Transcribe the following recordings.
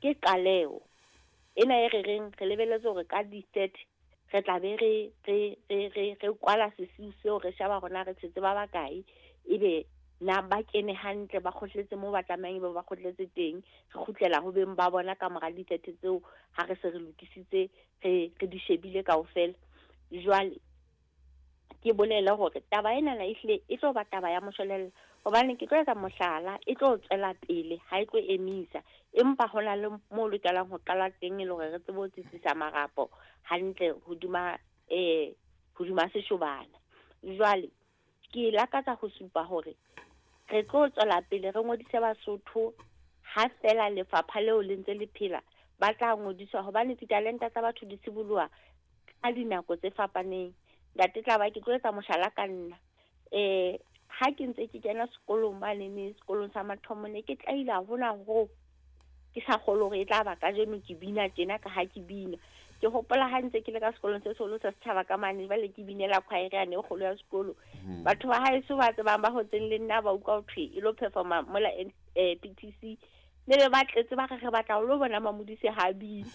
Ke qaleho ena e re reng re lebelletse hore ka di-30 re tla be re kwala sesiu seo, re sheba hore na re tshetse ba bakae, ebe na ba kene hantle, ba kgohletse moo ba tlamehang ebe ba kgohletse teng. Re kgutlela ho beng ba bona ka mora di-30 tseo, ha re se re lokisitse, re di shebile kaofela. Jwale ke bolele hore taba ena na ehlile e tlo ba taba ya moshwelella, hobane ke tlo etsa mohlala, e tlo tswela pele, ha e tlo emisa, empa ho na le mo lokelang ho qala teng e le hore re tsebe ho tsitsisa marapo hantle hodima seshobana. Jwale ke lakatsa ho supa hore re tlo tswela pele re ngodise Basotho ha fela lefapha leo le ntse le phela, ba tla ngodiswa, hobane ditalenta tsa batho di siboloha ka dinako tse fapaneng. Ntate tla ba ke tlo etsa mohlala ka nna. Ha ke ntse ke kena sekolong mane ne sekolong sa mathomo, ne ke tlaila hona ho ke sa kgolwe hore e tla ba kajeno ke bina tjena ka ha ke bina. Ke hopola ha ntse ke le ka sekolong se seholo sa setjhaba ka mane, jwale ke binela choir yane e kgolo ya sekolo. Batho ba haeso ba tsebang ba hotseng le nna ba utlwa ho thwe e lo performa mola PTC, ne be ba tletse ba re re batla ho lo bona Mamodise ha bina.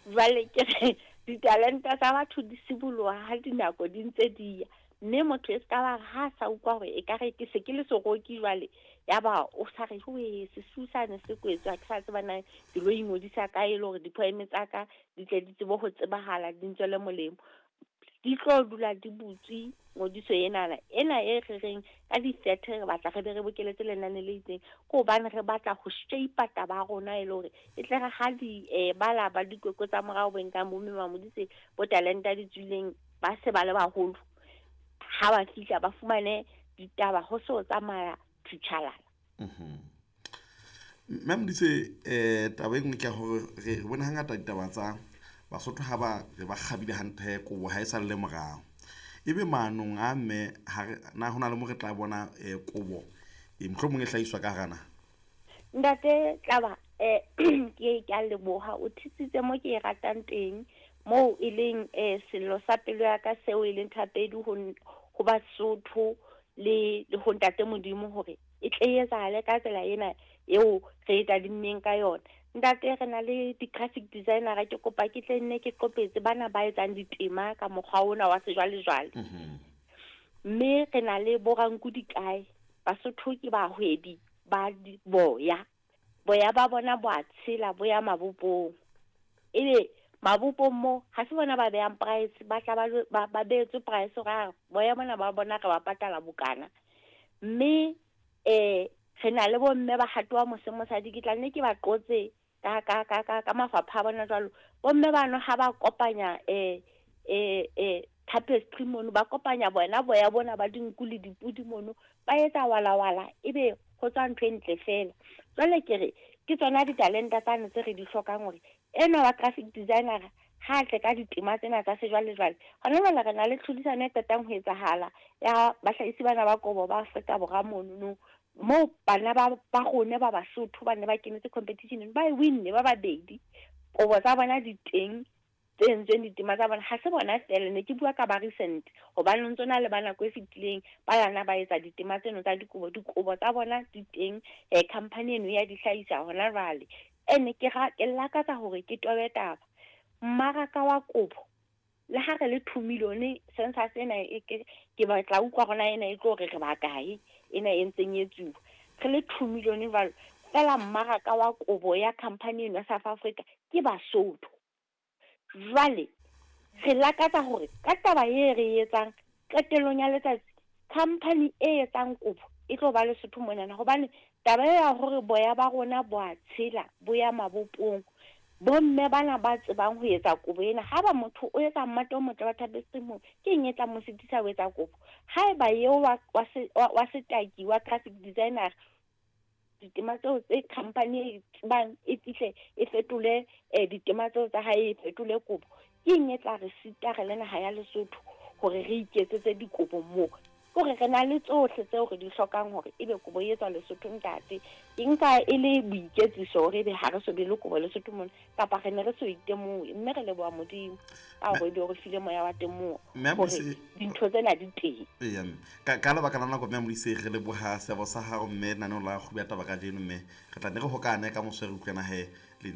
Jwale ke re ditalenta tsa batho di siboloha ha dinako di ntse di ya, mme motho e ska ba re ha sa utlwa hore ekare ke se ke le seroki jwale, ya ba o sa re we sesiu sane se kwetswe, ha ke sa tseba na ke lo ingodisa kae e le hore di-poem tsa ka di tle di tsebe ho tsebahala, di ntswele molemo. Di tlo dula di butswe ngodiso enana, ena e re reng ka di-30 re batla re be re bokeletse lenane le itseng, ke hobane re batla ho shape taba ya rona e le hore e tle re ha di bala ba dikwekwe tsa morao bo nkang bo mme Mamodise bo talenta di tswileng ba se ba le baholo, ha ba fihla ba fumane ditaba ho se ho tsamaya thutshalala. Mme Modise, taba e nngwe ke ya hore re bone hangata ditaba tsa Basotho ha ba re ba kgabile hantle kobo ha e sa le morao. Ebe maanong a mme ha re na hona le mo re tla bona kobo e mohlomong e hlahiswa ka hara naha? Ntate Tlaba, ke a leboha, o thusitse mo ke e ratang teng, moo e leng sello sa pelo ya ka seo e leng thapedi ho Basotho le ho Ntate Modimo hore e tle e etsahale ka tsela ena eo re e tadimmeng ka yona. Ntate, re na le di-graphic designer, ke kopa ke tle nne ke qopetse bana ba etsang ditema ka mokgwa ona wa sejwalejwale. Mme re na le boranku dikae, Basotho ke bahwebi ba boya, boya ba bona bo a tshela, bo ya mabopong. Ebe mabopong mo ha se bona ba behang price, ba tla ba beetswe price hore a boya bona ba bona re ba patala bokana. Mme re na le bomme ba hatowa mose mosadi, ke tla nne ke ba qotse ka mafapha a bona jwalo. Bomme bano ha ba kopanya tapestry mono, ba kopanya bona boya bona ba dinku le dipudi mono, ba etsa walawala, ebe ho tswa ntho e ntle fela. Jwale ke re ke tsona ditalenta tsane tse re di hlokang hore enwa wa graphic designer ha tle ka ditema tsena tsa sejwalejwale. Hona jwale re na le tlhodisano e qetang ho etsahala ya bahlahisi bana ba kobo ba Afrika Borwa monono, moo bana ba rona ba Basotho ba ne ba kenetse competition, ba e winne ba babedi. Kobo tsa bona di teng tse entsweng ditema tsa bona, ha se bona fela, ne ke bua ka ba recent hobane ho ntso na le ba nako e fetileng ba lana ba etsa ditema tseno tsa dikobo, dikobo tsa bona di teng, company eno ya di hlahisa hona jwale. Ene ke lakatsa hore ke tobe taba mmaraka wa kobo, le ha re le 2 million census ena e ke batla utlwa rona ena e tlo re re ba kae ena e ntseng e tsuwa, re le 2 million jwalo fela mmaraka wa kobo ya company eno ya South Africa ke Basotho. Jwale re lakatsa hore ka taba e re etsang qetellong ya letsatsi company e etsang kobo e tlo ba Lesotho monana, hobane taba ya hore boya ba rona bo a tshela bo ya mabopong, bomme bana ba tsebang ho etsa kobo ena, ha ba motho o etsa mmate o motle wa tapestry moo, ke eng e tla mo sitisa ho etsa kobo? Haeba eo wa setaki wa graphic designer ditema tseo tse company e tsebang e fihle e fetole ditema tseo tsa hae e fetole kobo, ke eng e tla re sita re le naha ya Lesotho hore re iketsetse dikobo moo? Hore re na le tsohle tseo re di hlokang hore ebe kobo e etswa Lesotho ntate. Ke nka e le boiketsiso hore ebe ha re so be le kobo Lesotho mona, kapa re ne re so itemohe, mme re leboha Modimo ka hore ebe o re file moya wa temoho hore dintho tsena di teng. Eya, ka lebaka la nako mme Modise, re leboha seabo sa hao mme naneong la Kgubu ya Taba kajeno, mme re tla nne re hokane ka moso re utlwana he le